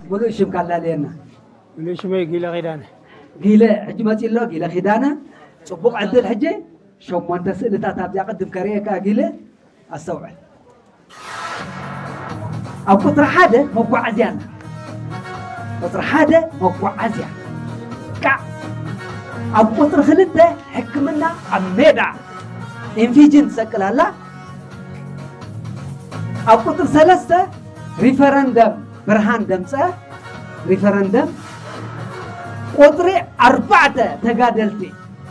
ሙሉእ ሽም ካላለየና። ሙሉእ ሽመይ ጊለ ኪዳነ። ጊለ ሕጂ መፂ ኣሎ። ጊለ ኪዳነ፣ ፅቡቕ ዕድል። ሕጂ ሸሞንተ ስእልታት ኣብዚኣ ቅድም ከርእየካ። ጊለ ኣስተውዕል። ኣብ ቁፅሪ ሓደ መጓዓዝያ ኣላ። ቁፅሪ ሓደ መጓዓዝያ፣ ቃዕ። ኣብ ቁፅሪ ክልተ ሕክምና ኣብ ሜዳ፣ ኢንፊጅን ትሰቅል ኣላ። ኣብ ቁፅሪ ሰለስተ ሪፈረንደም፣ ብርሃን ደምፀ፣ ሪፈረንደም። ቁፅሪ ኣርባዕተ ተጋደልቲ፣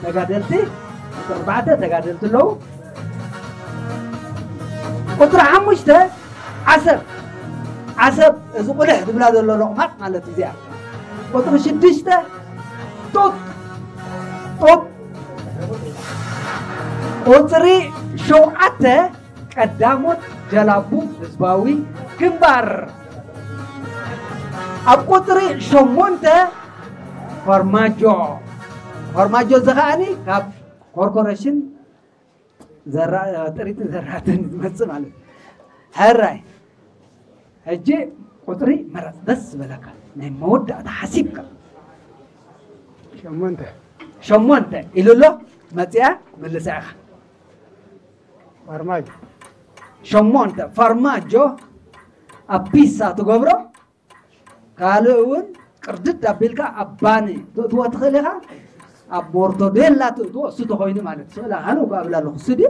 ተጋደልቲ፣ ቁፅሪ ኣርባዕተ ተጋደልቲ ኣለዉ። ቁፅሪ ሓሙሽተ ዓሰብ፣ ዓሰብ፣ እዚ ቁልሕ ዝብላ ዘሎ ሎቕማጥ ማለት እዩ እዚኣ። ቁፅሪ ሽዱሽተ ጡጥ፣ ጡጥ። ቁፅሪ ሸውዓተ ቀዳሞት ጀላቡ ህዝባዊ ግንባር። ኣብ ቁፅሪ ሸሞንተ ፈርማጆ፣ ፈርማጆ እዚ ከዓኒ ካብ ኮርፖሬሽን ዘራ-፣ ጥሪትን ዘራትን ዝመፅእ ማለት እዩ። ሕራይ፣ ሕጂ ቁፅሪ መረፅ፣ ደስ ዝበለካ ናይ መወዳእታ ሓሲብካ። ሸሞንተ። ሸሞንተ ኢሉ ኣሎ። መፅያ ምልሳ ኢኻ። ፈርማጆ። ሸሞንተ ፈርማጆ ኣብ ፒሳ ትገብሮ። ካልእ እውን ቅርድድ ኣቢልካ ኣብ ባኒ ትእትዎ ትኽእል ኢኻ። ኣብ ሞርቶዴላ ትእትዎ፣ እሱ ተኾይኑ ማለት ስእላ ኣነ እኮ ኣብላ ኣለኹ። እሱ ድዩ?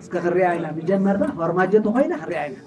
እስከ ክሪኣ ኢና። መጀመርታ ፈርማጆ ተኾይና ክሪኣ ኢና።